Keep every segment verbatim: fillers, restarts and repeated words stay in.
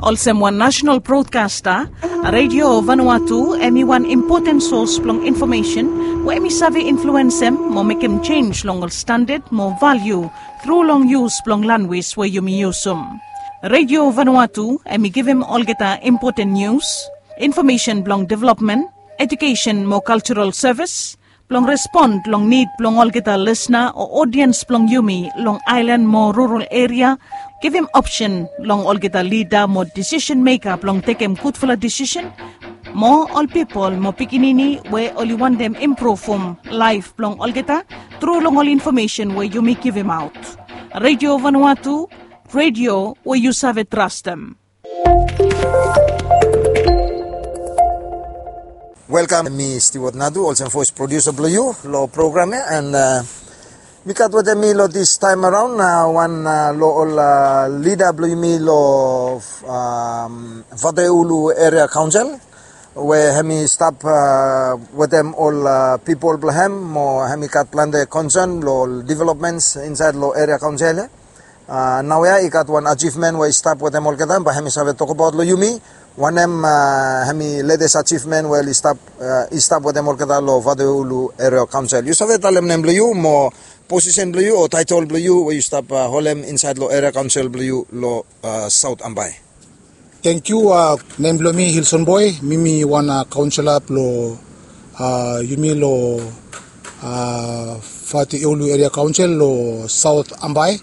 Olsem wan nasenal brodkasta, Redio Vanuatu em i wan impoten sos blong infomesen we em i save influensem mo mekem jenis long ol standad mo valiu tru long yus blong lanwis we yumi yusum. Redio Vanuatu em i givim olgeta impoten nius, infomesen blong developmen, ejukesen mo kaljaral sevis, blong respon long nid blong olgeta lisna o odiens blong yumi long aelan mo rural eria, givim opsen long olgeta lida mo disisen meka blong tekem gudfala disisen, mo ol pipol mo pikinini we oli wantem impruvum laef blong olgeta tru long ol infomesen we yumi givimaot. Redio Vanuatu, redio we yu save trastem. Welkam, mi Stewart Nadu, olsem voes produsa blong yu long program ya. And mi gat wetem mi long dis taem araon wan long ol lida blong yumi long Vatuleulu Eria Kaonsel, we hem i stap wetem ol pipol blong hem, mo hem i gat plante konsen long ol developmens insaed long eria kaonsel ya. Naoia i gat wan ajivmen we i stap wetem olgeta, bae hem i save tokbaot long yumi wanem hem i letes ajivmen we oli stap i stap wetem olgeta long Vatuleulu Eria Kaonsel. Yu save talem nem blong yu mo posisen blong yu o taetol blong yu we yu stap holem insaed long eria kaonsel blong yu long Saot Ambae? Tangkiu. Nem blong mi Hilson Boe, mi mi wan kaonsela blong yumi long Vatuleulu Eria Kaonsel long Saot Ambae.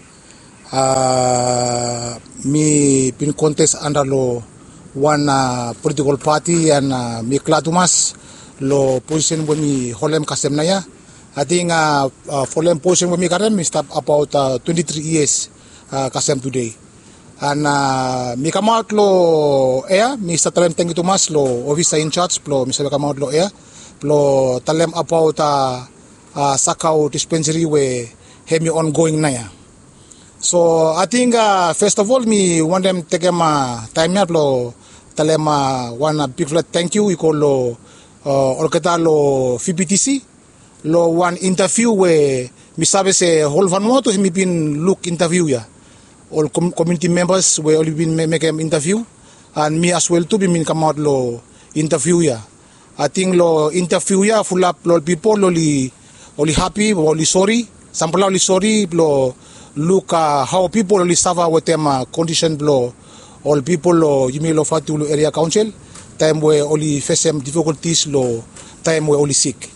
Mi bin kontes anda long wan politikol pati, and mi glad tumas long posisen we mi holem kasem naoia. Ating folem posisen we mi karem mi stap abaot twenti tri yias kasem tude. And mi kamaot long ea, mi stap talem tangkiu tumas long ofisa injaj blong mi save kamaot long ea blong talem abaot Sakau dispensari we hem i ongoing naoia. So ating fes of ol mi wantem tekem taem ya blong talem wan bigfala tangkiu i go long olgeta long VBTC long wan intaviu we mi save se hol Vanuatu hem i bin luk intaviu ya. Ol komuniti membas we oli bin mekem intaviu, and mi aswel tu bin bin kamaot long intaviu ya. Ating long intaviu ya fulap long ol pipol oli hapi o oli sori. Samfala oli sori blong luk hao pipol oli safa wetem kondisen blong ol pipol long yumi long Vatuleulu Eria Kaonsel taem we oli fesem difikoltis long taem we oli sik.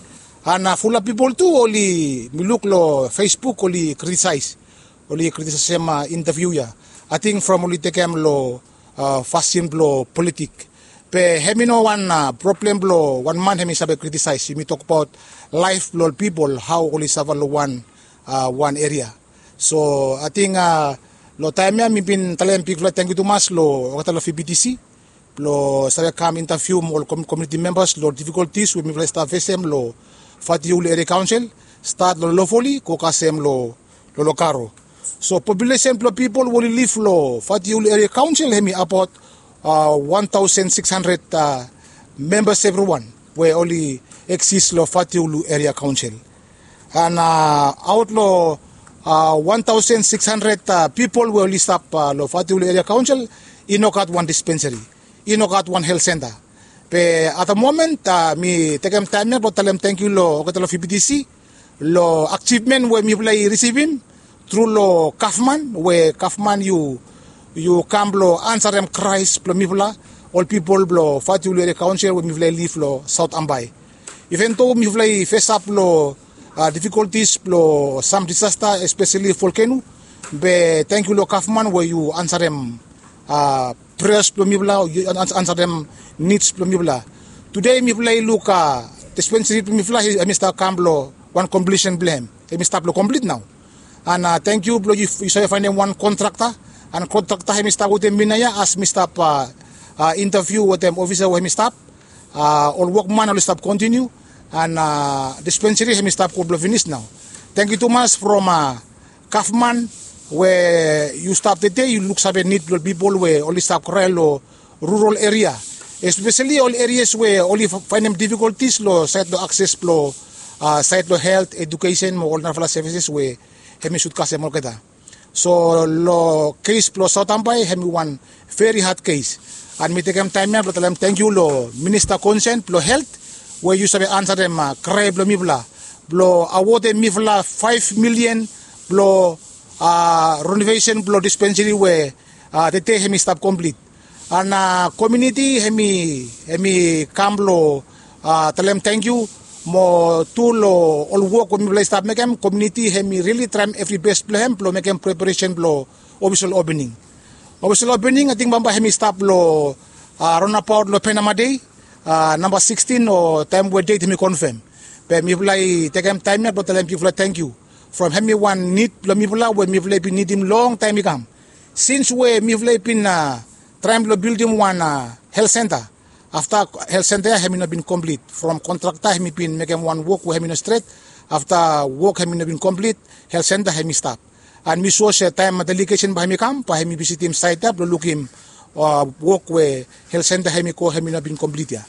And fulap pipol tu oli, mi luk long Facebook, oli kritisaes, oli kritisaesem intaviu ya. Ating from oli tekem long fasin blong politik. Be hem i no wan problem blong wan man hem i save kritisaes. Yumi tokbaot laef blong ol pipol, hao oli safa long wan wan eria. So ating long taem ya mi bin talem bigfala tangkiu tumas long olgeta long VBTC blong save kam intavium ol komuniti membas long difikoltis we mifala i stap fesem long Vatuleulu Eria Kaonsel, stat long Lofoli go kasem long Lolokaro. So populesen blong pipol we oli liv long Vatuleulu Eria Kaonsel hem i abaot wan taosen sikis handred membas evriwan we oli eksis long Vatuleulu Eria Kaonsel. And aot long wan taosen sikis handred pipol we oli stap long Vatuleulu Eria Kaonsel, i no gat wan dispensari, i no gat wan helt senta. Be at the moment mi tekem taem ya blong talem tangkiu long olgeta long VBTC long ajivmen we mifala i risivim tru long gavman, we gavman yu kam blong ansarem kraes blong mifala, ol pipol blong Vatuleulu Eria Kaonsel we mifala i liv long Saot Ambae. Iven do mifala i fesap long difikoltis blong sam disasta, espeseli volkeno, be tangkiu long gavman we yu ansarem preas blong mifala, ansarem nids blong mifala. Tude mifala i luk dispensari blong mifala hem i stap kam long wan komplisen blong hem, hem i stap long komplit nao. And tangkiu blong yu save faenem wan kontrakta, and kontrakta hem i stap wetem mi naoia as mi stap intaviu wetem ofisa we hem i stap. Ol wokman oli stap kontiniu, and dispensari hem i stap gud blong finis nao. Tangkiu tumas from gavman we yu stap tede yu luksave nid blong ol pipol we oli stap krae long rural eria, espeseli ol erias we oli faenem difikoltis long saed long akses blong saed long helt, ejukesen mo ol narafala sevises we hem i sud kasem olgeta. So long kes blong Saotambai hemi wan veri had kes. An mi tekem taem ya blong talem tangkiu long minista konsen blong helt we yu save ansarem krae blong mifala blong awodem mifala faef milian blong renovesen blong dispensari we tede hemi stap komplit. An komuniti hemi kam blong talem tangkiu mo tu long ol wok we mifala i stap mekem. Komuniti hemi rili traem evri bes blong hem blong mekem preparesen blong ofisol opening. Ofisol opening ating bambae hemi stap long raonabaot long Panama Day namba sikstin o taem we det hemi konfem. Be mifala i tekem taem ya blong talem bigfala tangkiu from hemi wan nid blong mifala we mifala i bin nidim longtaem i kam. Sins we mifala i bin traem blong bildim wan helt senta. Afta helt senta ya hemi no bin komplit from kontrakta hemi bin mekem wan wok we hemi no stret. Afta wok hemi no bin komplit, helt senta hemi stap. An mi sua se taem delegesen bae hemi kam bae hemi visitim saet ya blong lukim wok we helt senta hemi go hemi no bin komplit ya.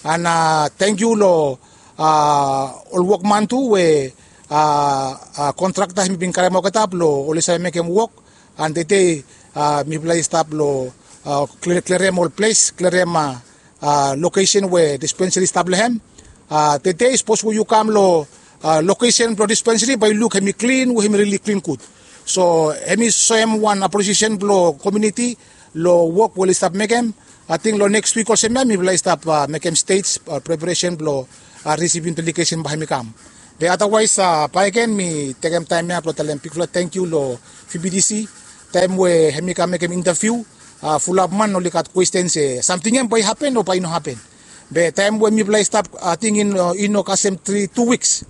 An tangkiu long ol wokman tu we kontrakta hemi bin karem olgeta blong oli save mekem wok. An tede mifala i stap long klerem ol ples, klerem lokesen we dispensari i stap long hem. Tede sapos we yu kam long lokesen blong dispensari bae yu luk hemi klin we hemi rili klin gud. So hemi soem wan apresiesen blong komuniti long wok we oli stap mekem. Ating long neks wik olsem ya mifala i stap mekem stej preparesen blong risivim delegesen bae hemi kam. Be adawaes bae gen mi tekem taem ya blong talem bigfala tangkiu long V B T C. Taem we hemi kam mekem intaviu, fulap man oli gat kwesten se samting ya bae i hapen o bae i no hapen. Be taem we mifala i stap ating i no kasem tri tu wiks,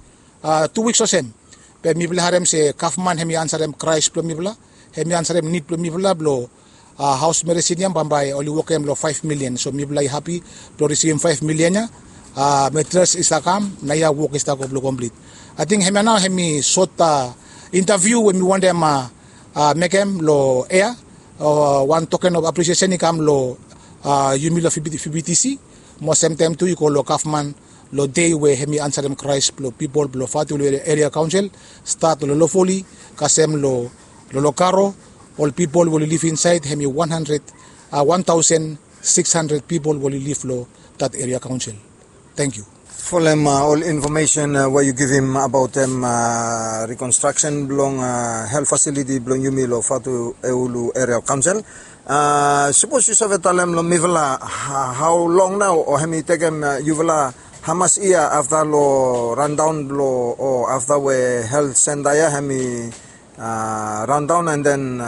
tu wiks olsem, be mifala i harem se gavman hemi ansarem kraes blong mifala, hemi ansarem nid blong mifala blong haos meresin ya bambae oli wokem long faef milian. So mifala i hapi blong risivim faef milian ya. Materials i stap kam, naoia wok i stap go blong komplit. Ating hemia nao hemi sot intaviu we mi wantem mekem long ea. Wan token of apresiesen i kam long yumi long V B T C. Mo semtaem tu i go long gavman long dei we hemi ansarem kraes blong pipol blong Vatuulu Eria Kaonsel, stat long Lolofoli kasem long Lolokaro. Ol pipol we oli liv insaed hemi wan handred, wan taosen sikis handred pipol we oli liv long dat eria kaonsel. Tangkiu. Folem ol infomesen we yu givim abaotem rikonstraksen blong helt fasiliti blong yumi long Vatuulu Eria Kaonsel. Sapos yu save talem long mifala hao long nao o hemi tekem yufala hamas yia afta long randaon blong o afta we helt senta ya hemi randaon an den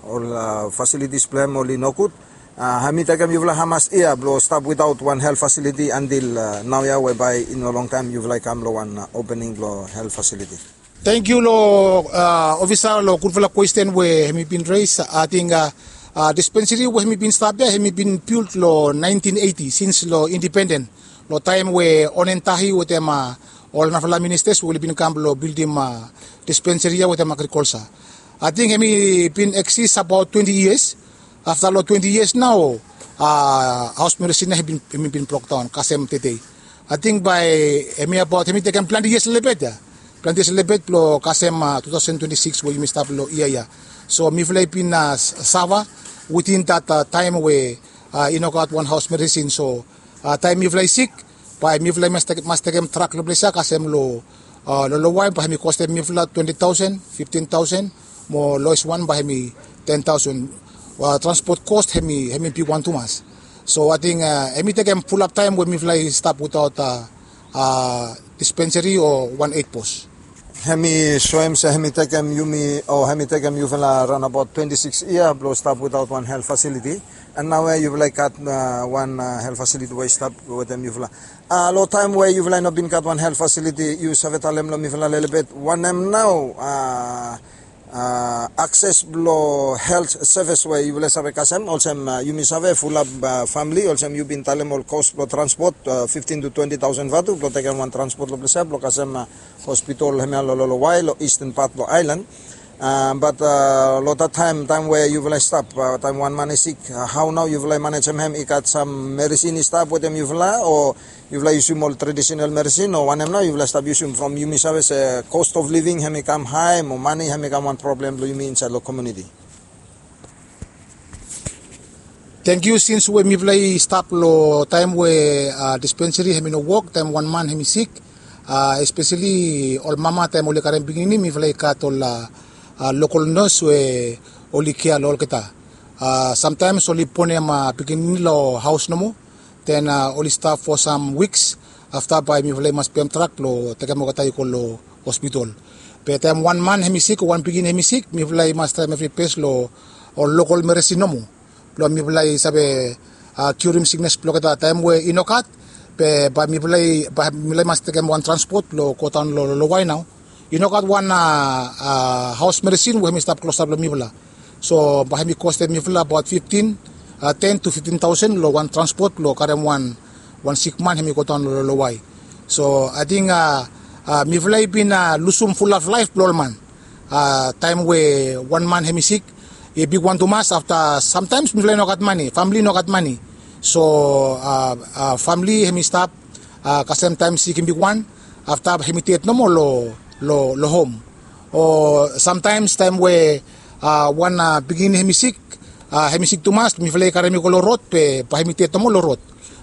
ol fasilitis blong hem oli nogud. Hemi tekem yufala hamas yia blong stap witaot wan helt fasiliti antil naoia we bae i no longtaem yufala i kam long wan opening blong helt fasiliti. Tangkiu long ofisa long gudfala kwesten we hemi bin res. Ating dispensari we hemi bin stap ya hemi bin bilt long naentin eiti sins long indipenden, long taem we Onen Tahi wetem ol narafala ministas we oli bin kam blong bildim dispensari ya wetem agrikolsa. Ating hemi bin eksis abaot twenti yias. Afta long twenti yias nao haos meresin ya hemi bin brokdaon kasem tede. Ating bae hemi abaot hemi tekem plante yias lelebet ya, plante yias lelebet blong kasem tu taosen twenti sikis we yumi stap long yia ya. So mifala i bin safa witin dat taem we i no gat wan haos meresin. So taem mifala i sik bae mifala i mas tekem trak long ples ya kasem long lolowae bae hemi kostem mifala twenti taosen, fiftin taosen, mo loes wan bae hemi ten taosen. Transpot kos hemi bigwan tumas. So ating hemi tekem fulap taem we mifala i stap witaot dispensari o wan eit bos. Hemi soem se hemi tekem yumi o hemi tekem yufala raon abaot twenti sikis yia blong stap witaot wan helt fasiliti. An naoia yufala i gat wan helt fasiliti we i stap wetem yufala. Long taem we yufala i no bin gat wan helt fasiliti, yu save talem long mifala lelebet wanem nao akses blong helt sevis we yufala save kasem? Olsem yumi save fulap famili olsem yu bin talem ol kos blong transpot fiftin tu twenti taosen vatu blong tekem wan transpot long ples ya blong kasem hospitol hemia long lolowae long isten pat blong aelan. Bat long dat taem taem we yufala i stap taem wan man i sik, hao nao yufala i manejem hem? I gat sam meresin i stap wetem yufala o yufala i yusum ol tradisional meresin o wanem nao yufala i stap yusum from yumi save se kost of living hem i kam hae mo mane hem i kam wan problem blong yumi insaed long komiuniti? Tengkiu sins we mifala i stap long taem we dispenseri hem i no wok taem wan man hem i sik, espeseli ol mama taem oli karem pikinini mifala i gat ol lokol nos we oli kea long olgeta. Samtaems oli bonem pikinini long haos nomo, den oli stap fo sam wiks afta bae mifala i mas pem trak blong tekem olgeta i go long hospitol. Be taem wan man hem i sik o wan pikinini hem i sik mifala i mas traem evri bes long ol lokol meresin nomo blong mifala i save kiurim siknes blong olgeta taem we i no gat, be bae mifala i mas tekem wan transpot blong go daon long lowae nao. I no gat wan haos meresin we hem i stap klosap long mifala. So bae hem i kostem mifala abaot fiftin ten tu fiftin taosen long wan transpot blong karem wan wan sikman hem i go daon long lowae. So ating mifala i bin lusum fulap laef blong ol man taem we wan man hem i sik i bigwan tumas afta samtaems mifala i no gat mane, famle i no gat mane. So famle hem i stap kasem taem sik i bigwan afta hem i ded nomo long hom. O samtaems taem we wan pikinini hem i sik hem i sik tumas mifala i karem i go long rod be bae hem i ded nomo long rod.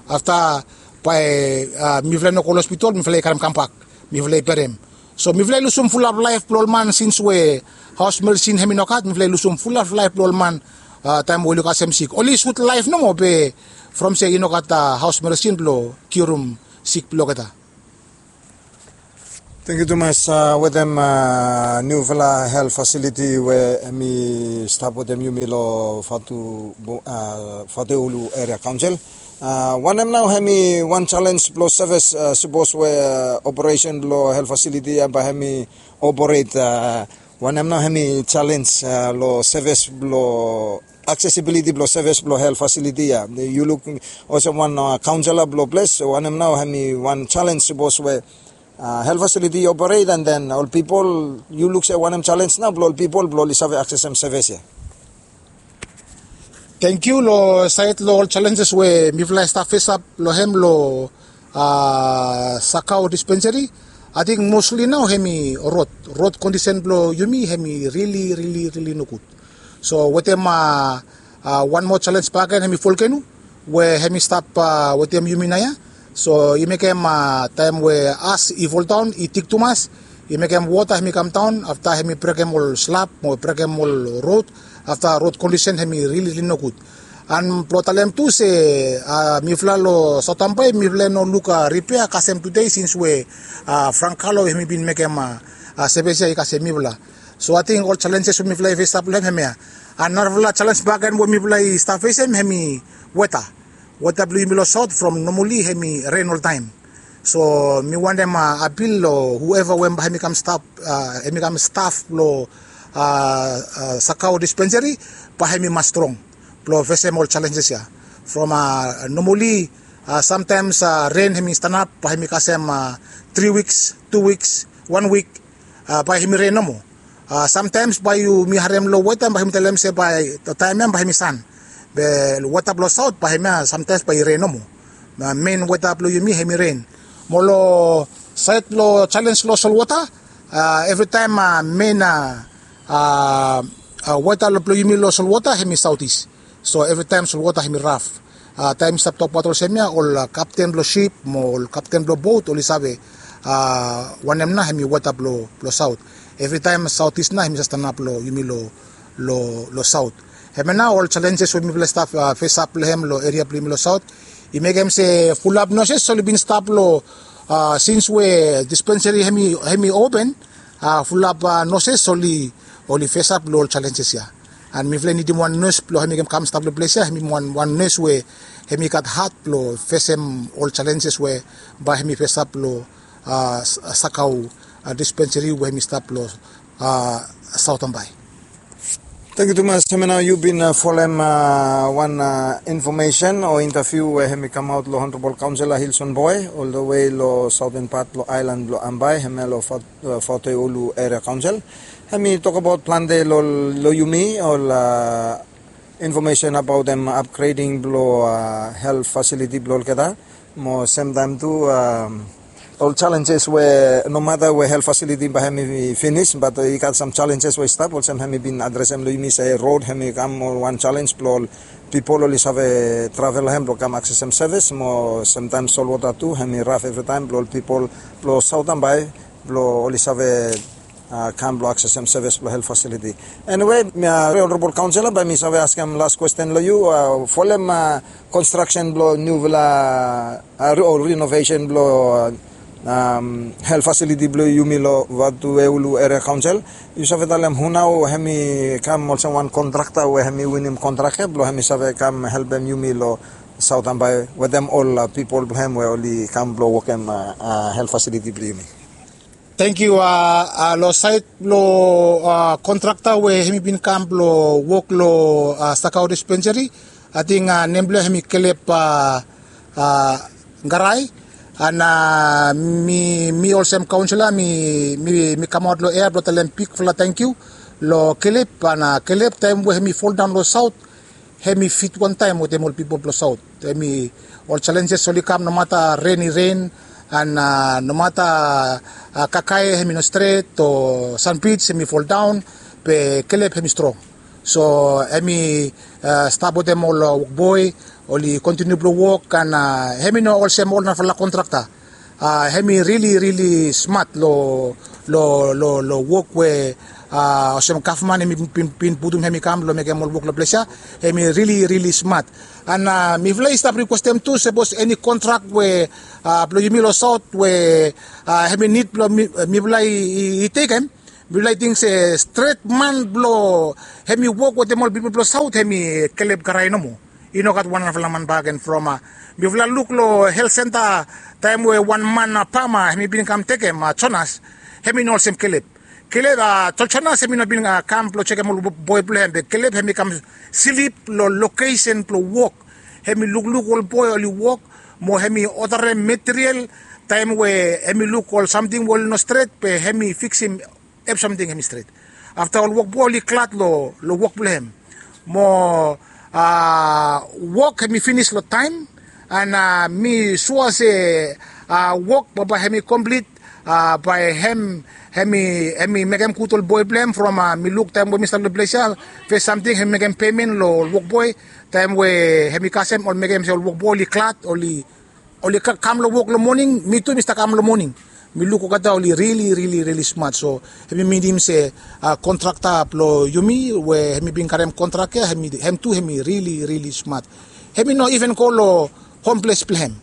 Afta bae mifala i no go long hospitol mifala i karem kambak mifala i berem. So mifala i lusum fulap laef blong ol man sins we haos meresin hem i no gat mifala i lusum fulap laef blong ol man taem we oli kasem sik oli sut laef nomo be from se i no gat haos meresin blong kiurim sik blong olgeta. Tengkiu tumas. Wetem niufala hel fasiliti we hem i stap wetem yumi long fatu fatu ulu eria kaonsel, wanem nao hem i wan selens blong sevis sipos we operesen blong hel fasiliti ya bae hem i operat? Wanem nao hem i selens long sevis blong aksesibiliti blong sevis blong hel fasiliti ya? Yu luk olsem wan kaonsela blong ples wanem nao hem i wan selens sipos we hel fasiliti i operat an den ol pipol yu luk se wanem selens nao blong ol pipol blong oli save aksesem sevis ya? Tengkiu long saed long ol selenses we mifala i stap fesap long hem long sakao dispenseri. Ating mosli nao hem i rod rod kondisen blong yumi hem i rili rili rili nogud. So wetem wan moa selens baken hem i folkenu we hem i stap wetem yumi naoia. So i mekem taem we as i foldaon i tik tumas i mekem wota hem i kamdaon afta hem i brekem ol slap mo brekem ol rod. Afta rod kondisen hem i rili rili nogud. An blong talem tu se mifala long saotambae mifala i no luk ripea kasem tude sins we frankalo hem i bin mekem sevis ya i kasem mifala. So ating ol selenses we mifala i fesap long hem hemia. An narafala selens baken we mifala i stap fesem hem i weta. Weta blong yumi long saot from nomali hem i ren oltaem. So mi wantem apil long hueva we bae hem i kam stap hem i kam staf blong sakao dispenseri bae hem i mas strong blong fesem ol selenses ya. From nomali samtaems ren hem i stanap bae hem i kasem tri wiks, tu wiks, wan wik, bae hem i ren nomo. Samtaems bae yumi harem long weta bae hem i talem se bae taem ya bae hem i san. Be weta blong saot bae hem ya samtaems bae i ren nomo. Men weta blong yumi hem i ren. Mo long saed blong selens long solwota, evritaem men weta blong yumi long solwota hem i saotis. So evritaem solwota hem i raf. Taem i stap tokbaot olsem ya ol kapten blong sip mo ol kapten blong bot oli save wanem nao hem i weta blong saot. Evritaem saotis nao hem i save stanap long yumi long saot. Hemia nao ol selenses we mifala i stap fesap long hem long eria blong yumi long saot. I mekem se fulap noses oli bin stap long sins we dispenseri hem i open, fulap noses oli oli fesap long ol selenses ya. An mifala i nidim wan nes blong hem i kam stap long ples ya hem i wan nes we hem i gat hat blong fesem ol selenses we bae hem i fesap long sakau dispenseri we hem i stap long saotambae. Tengkiu tumas. Hemia nao yu bin folem wan infomesen o intaviu we hem i kamaot long honorabol kaonsela hilson boe oldawe long saoten pat blong aelan blong ambae hemia long faote ulu eria kaonsel. Hemi tokbaot plante lo, lo yumi ol, a, infomesen abaot hem apgreding blo, a, helt fasiliti blo olgeta. Mo semtaem tu, a, ol jalenjes we nomata we helt fasiliti bae hemi finis, bat i gat sam jalenjes we i stap, olsem hemi bin adresem lo yumi se rod hemi kam ol wan jalens blo ol pipol oli save travel hem blo kam aksesem sevis, mo semtaem solwota tu hemi raf evritaem blo ol pipol blo Saot Ambae blo oli save, a, kam blo aksesem sevis blo helt fasiliti. Eniwe, mi, a, Onorabol Kaonsela, bae mi save askem las kwesten lo yu, a, folem, a, konstraksen blo niufala, a, ri-, o rinovesen blo, a, helt fasiliti blo yumi lo Vatueulu Eria Kaonsel. Yu save talem hu nao hemi kam olsem wan kontrakta we hemi winim kontrak ia blo hemi save kam helpem yumi lo Saot Ambae wetem ol, a, pipol blo hem we oli kam blo wokem, a, a, helt fasiliti blo yumi. Tangkiu, a, a, lo saed blo, a, kontrakta we hemi bin kam blo wok lo, a, Sakau Dispensary, ating, a, nem blo hem hemi Kelep, a, a, Garai. An, a, mi, mi olsem kaonsela mi, mi, mi kamaot lo ea blo talem bigfala tangkiu lo Kelep, an, a, Kelep taem we hemi foldaon lo saot, hemi fit wantaem wetem ol pipol blo saot. Hemi ol jalenjes oli kam nomata ren i ren, an, a, nomata, a, kakae hemi no stret o sanbij hemi foldaon, be Kelep hemi strong. So hemi, a, stap wetem ol, a, wokboe, oli kontiniu blo wok, an, a, hemi no olsem ol narafala kontrakta. A, hemi rili, rili smat lo, lo, lo, lo wok we, a, olsem gavman hemi bin, bin, bin putum hemi kam lo mekem ol wok lo ples ia. Hemi rili, rili smat. An, a, mifala i stap rikwestem tu, sapos eni kontrak we, a, blo yumi lo saot we, a, hemi nid blo mi, mifala i, i, i tekem, mifala i ting se stret man blo hemi wok wetem ol pipol blo saot hemi Kelep Garai nomo. I no gat wan narafala man bakegen from, a, mifala luk lo helt senta taem we wan man, a, pama hemi bin kam tekem, a, Jonas, hemi no olsem Kelep. Kelep, a, Jo-, Jonas hemi no bin, a, kam blo jekem ol bo-, boe blo hem, be Kelep hemi kam slip lo lokesen blo wok. Hemi lukluk ol boe oli wok, mo hemi odarem material, taem we hemi luk ol samting we oli no stret, be hemi fiksim evrisamting hemi stret. Afta ol wokboe oli glad lo, lo wok blo hem. Mo, a, wok hemi finis lo taem, an, a, mi sua se, a, wok bae, bae hemi komplit, a, bae hem, hemi, hemi mekem gud ol boe blo hem from, a, mi luk taem we mi stap lo ples ia, fes samting hemi mekem pemen lo ol wokboe, taem we hemi kasem oli mekem se ol wokboe oli glad, oli oli ka-, kam lo wok lo moning, mi tu mi stap kam lo moning. Mi luk olgeta oli rili, rili, rili smat. So hemi minim se, a, kontrakta blo yumi we hemi bin karem kontrak ia, hemi, hem tu hemi rili, rili smat. Hemi no iven go lo hom ples blo hem.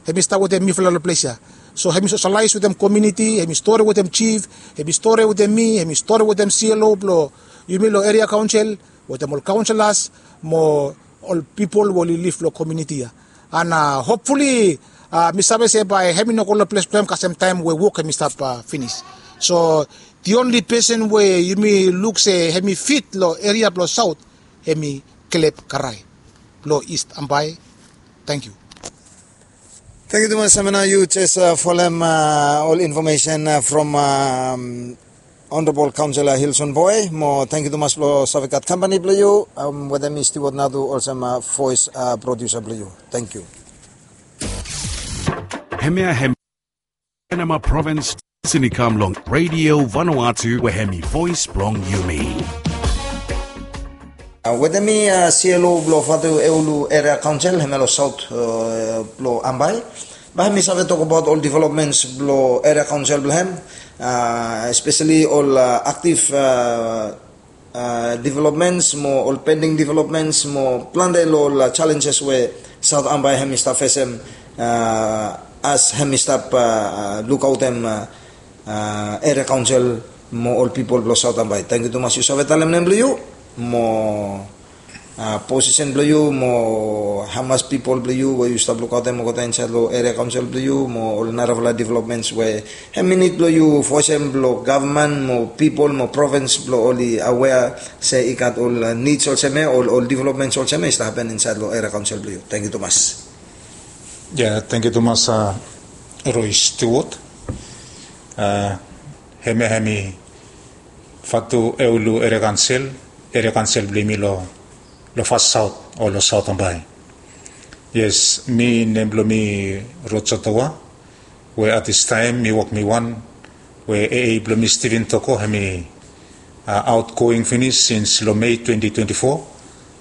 Hemi stap wetem mifala lo ples ia. So hemi soselaes wetem komuniti, hemi stori wetem jif, hemi stori wetem mi, hemi stori wetem C L O blo yumi lo eria kaonsel, wetem ol kaonselas, mo ol pipol we oli liv lo komuniti ia. An, a, hopfuli, a, mi save se bae hemi no go lo ples blo hem kasem taem we wok hemi stap, a, finis. So the only pesen we yumi luk se hemi fit lo eria blo saot, hemi Kelep Garai blo Ist Ambae. Tangkiu. Tangkiu tumas, Samena, yu jes, a, folem, a, ol infomesen, a, from, a, Honorable Councillor Hilson Boy, mo tangkiu tumas blo save gat kampani blo yu, a, wetem mi Stewart Nadu olsem, a, voes, a, produsa blo yu. Tangkiu. Hemia hem Panama Province, Sinikamlong Radio Vanuatu, we hemi voes blong yumi. A, wetem mi, a, C L O blo Vatueulu Eria Kaonsel, hemia lo saot, a, blo Ambae. Bae mi save tokbaot ol developments blo eria kaonsel blo hem, a, espeseli ol, a, aktif, a, a, developments mo ol pending developments mo plante lo ol, a, challenges we South Ambae hemi stap fesem, a, as hemi stap, a, a, lukaotem, a, a, eria kaonsel mo ol pipol blo South Ambae. Tangkiu tumas yu save talem nem blo yu mo, a, posisen blo yu mo hamas pipol blo yu we yu stap lukaotem olgeta insaed lo eria kaonsel blo yu mo ol narafala developments we hemi nid blo yu voesem blo gavman mo pipol mo provins blo oli awea se i gat ol, a, nids olsem ia, ol, ol developments olsem ia i stap hapen insaed lo eria kaonsel blo yu. Tangkiu tumas. Ya, tangkiu tumas, a, Roy Stewart. A, hemia hemi Fatu Eulu Eria Kansel, Eria Kansel blong yumi lo, lo Fas Saot o lo Saot Ambae. Yes, mi nem blong mi Roger Towa, we at this time mi wok mi wan, we A A blong mi Steven Toko, hemi uh, outgoing finis sins lo Mei twenty twenty-four.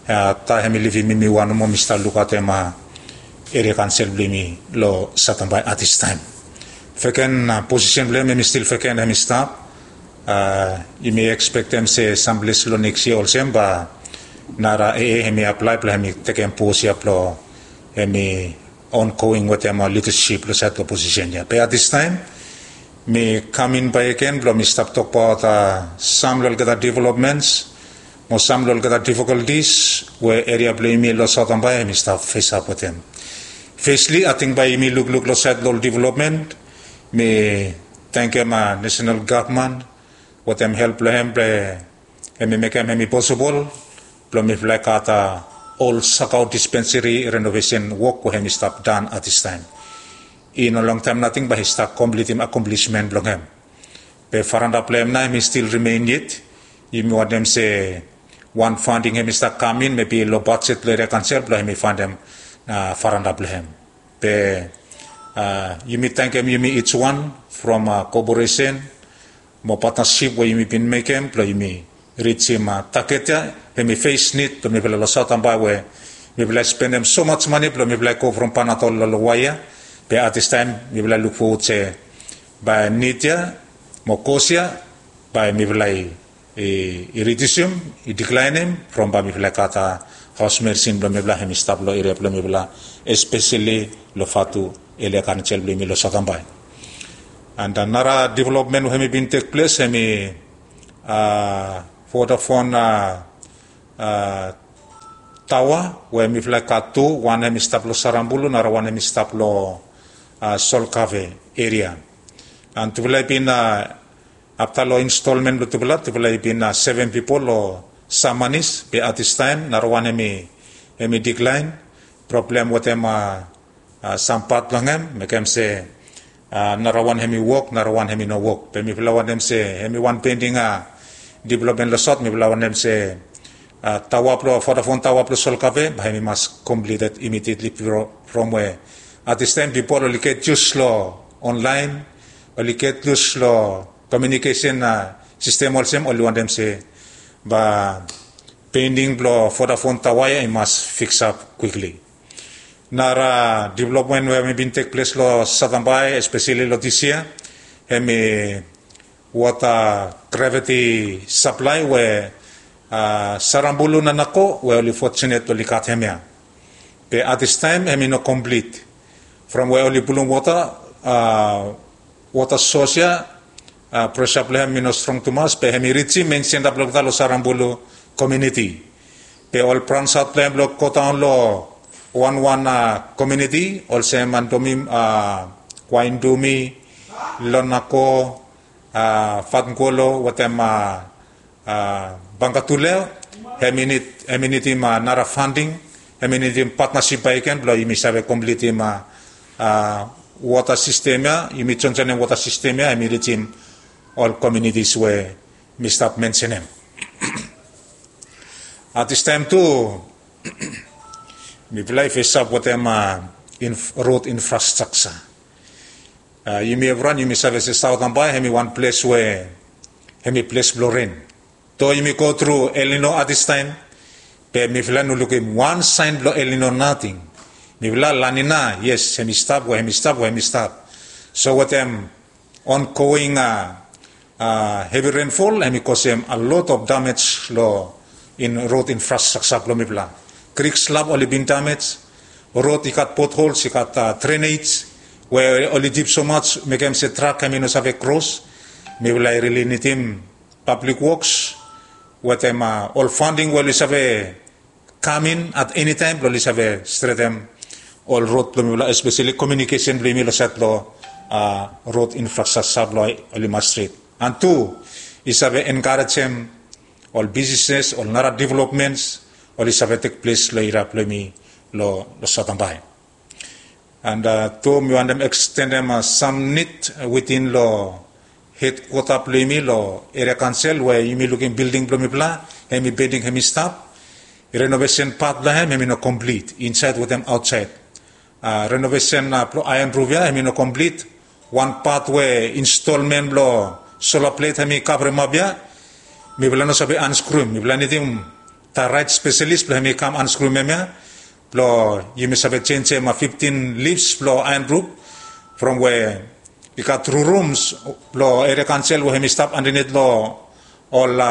Uh, taem hemi livim mi wan nomo, mi stap lukaotem uh, Eria Kansel blong yumi lo Saot Ambae at this time. Vacant uh, posisen blong hem hemi stil vacant, hemi stap. Uh, yumi ekspektem se samples lo neks yia olsem bae nara A A hemi aplae blong hemi tekem pos ya blong hemi ongoing wetem uh, lidasip lo saed lo posisen ya. Be at this time mi kam in bakegen blong mi stap tokbaot uh, sam lo olgeta developments mo sam lo olgeta difficulties we eria blong yumi lo Saot Ambae hemi stap fesap wetem. Fesli, ating bae yumi lukluk lo saed lo ol development, mi tangkem uh, nasenal gavman wetem help blong hem blong hemi mekem hemi posibol blong mifala i gat uh, ol Sakau dispenseri renovesen wok we hemi stap dan at this time. I no longtaem nating bae i stap komplitim akomplishment blong hem. Be faranda blong hem nao hemi stil rimen yet. Yumi wantem se wan fanding hemi stap kam in, mebi lo bajet lo Eria Kansel blong hemi fandem uh, faranda blong hem. Be uh, yumi tangkem yumi each one from uh, koporesen mo patnasip we yumi bin mekem blong yumi rijim uh, taget ya. Hemi fes nid blong mifala lo Saot Ambae we mifala i spendem so much mane blong mifala i go from Panadol lo Lowai ya. Be at this time mifala i luk fowod se bae nid ya mo kos ya bae mifala i, i, i ridiusim, i diklaenem from bae mifala i gat uh, haos medisin blong mifala hemi stap lo eria blong mifala, espeseli lo Fatu Eria Kansel blong yumi lo Saot Ambae. And uh, nara development we hemi bin tekples hemi uh, Vodafone uh, uh, taoa we mifala i gat tu, wan hemi stap lo Sarambulu, nara wan hemi stap lo uh, Solkave eria. And tufala i bin uh, afta lo instolmen blo tufala, tufala i bin uh, sevem pipol lo Samanis, be at this time nara wan hemi, hemi diklaen. Problem wetem uh, uh, sam pat blong hem, mekem se uh, nara wan hemi wok, nara wan hemi no wok. Be mifala wantem se hemi wan pending uh, development lo sot, mifala wantem se uh, taoa blo, Vodafone taoa blo Solkave bae hemi mas completed immediately bro, from we at this time pipol oli get used lo online, oli get used lo communication uh, system olsem, oli wantem se bae pending blo Vodafone taoa ya i mas fix up quickly. Nara development we hemi bin tekples lo Satambai, especially lo this year, hemi wota gravity supply we uh, Sarambulu na Nako we oli fortunate oli gat hemia. Be at this time hemi no complete. From we oli pulum wota, uh, wota source ya, uh, pressure blo hem i no strong tumas, be hemi rijim main center blo olgeta lo Sarambulu community. Be ol branch out blo hem blo go daon lo wanwan uh, community olsem Mandomi, uh, Waindumi, Lonako, uh, Fatngolo wetem uh, uh, Bangatuleo, hemi nid, hemi nidim uh, nara funding, hemi nidim partnership bakegen blo yumi save completim uh, uh, wota system ya, yumi joinjoinim wota system ya, hemi rijim ol communities we mi stap mensenem. At this time tu mifala i fesap wetem uh, inf, road infrastructure. Uh, yumi evriwan yumi save se Satambai hemi wan ples we hemi ples blo ren. Do yumi go tru El Nino at this time, be mifala no lukim wan saen blo El Nino nating. Mifala La Nina, yes, hemi stap we hemi stap we hemi stap. So wetem ongoing uh, uh, heavy rainfall hemi kosem a lot of damage lo in road infrastructure blo mifala. Creek slab oli bin damage, road i gat potholes, i gat uh, drainage we oli dip so much mekem se truck hemi no save cross. Mifala i really nidim public works wetem uh, ol funding we oli save kam in at any time blo oli save stretem ol road blo mifala, especially communication blo yumi lo saed blo uh, road infrastructure blo oli mas stret. And tu i save encourageem ol businesses, ol nara developments oli save tekples lo eria blo yumi lo, lo Satambai. And uh, tu mi wantem extendem uh, sam nid within lo Hedkwota blong yumi long eria kansel we yumi lukim bilding blong mifala, hem i bending, hem i stap. Renovesen pat blong hem hem i no komplit insaed wetem aotsaed. Renovesen blong aean ruf ya hem i no komplit. Wan pat we instolmen blong sola plet hem i kavremap ya, mifala no save anskrum. Mifala nidim da raet spesalis blong hem i kam anskrum hem ya, blong yumi save jenjem fiftin lifs blong aean ruf, from we i gat tru rums blong eria kansel we hem i stap andanit long ol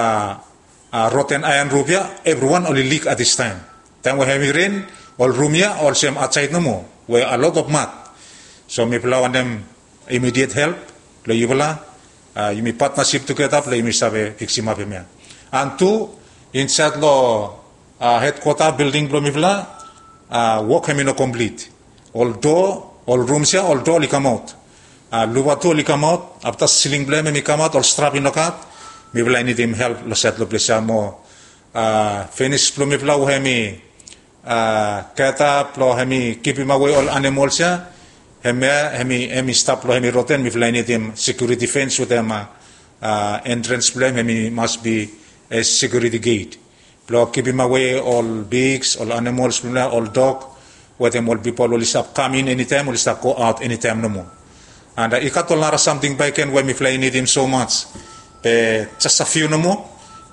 roten aean ruf ya, evriwan oli lik at distaem. Taem we hem i ren, ol rum ya olsem aotsaed nomo we a lot of mat. So mifala wantem imidiet help blong yufala. Yumi patnasip tugeta blong yumi save fiksimap hem ya. An tu, insaed long hedkwota bilding blong mifala, wok hem i no komplit. Ol doa, ol rums ya ol doa oli kamaot. Luva tu oli kamaot, afta siling blong hem hem i kamaot, ol strap i no gat. Mifala i nidim help long saed long ples ya mo finis blong mifala we hem i geta blong hem i givimawe ol animols ya, hem ya hem i stap blong hem i roten. Mifala i nidim sekiuriti fens wetem entrans blong hem hem i mas bi sekiuriti geit blong givimawe ol piks, ol animols blong mifala, ol dog, wetem ol pipol oli stap kam in enitaem, oli stap go aot enitaem nomo. An i gat ol nara samting bakegen we mifala i nidim somaj. Be jes a fiu nomo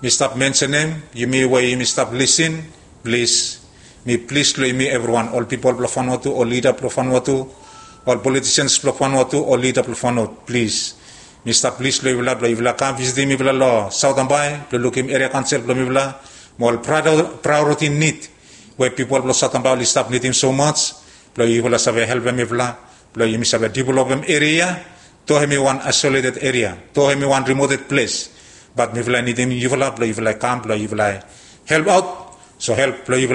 mi stap mensenem. Yumi we yumi stap lisin, plis, mi plis long yumi evriwan, ol pipol blong Vanuatu, ol lida blong Vanuatu, ol politisians blong Vanuatu, ol lida blong Vanuatu, plis, mi stap plis long yufala blong yufala kam visitim mifala long Saotambae blong lukim eria kansel blong mifala mo ol praeoriti nid we pipol blong Saotambae oli stap nidim somaj, blong yufala save helpem mifala blong yumi save developem eria ya. Doa hem i wan aisoleted eria, doa hem i wan rimoted ples, bat mifala i nidim yufala blong yufala i kam blong yufala i helpaot. So help blong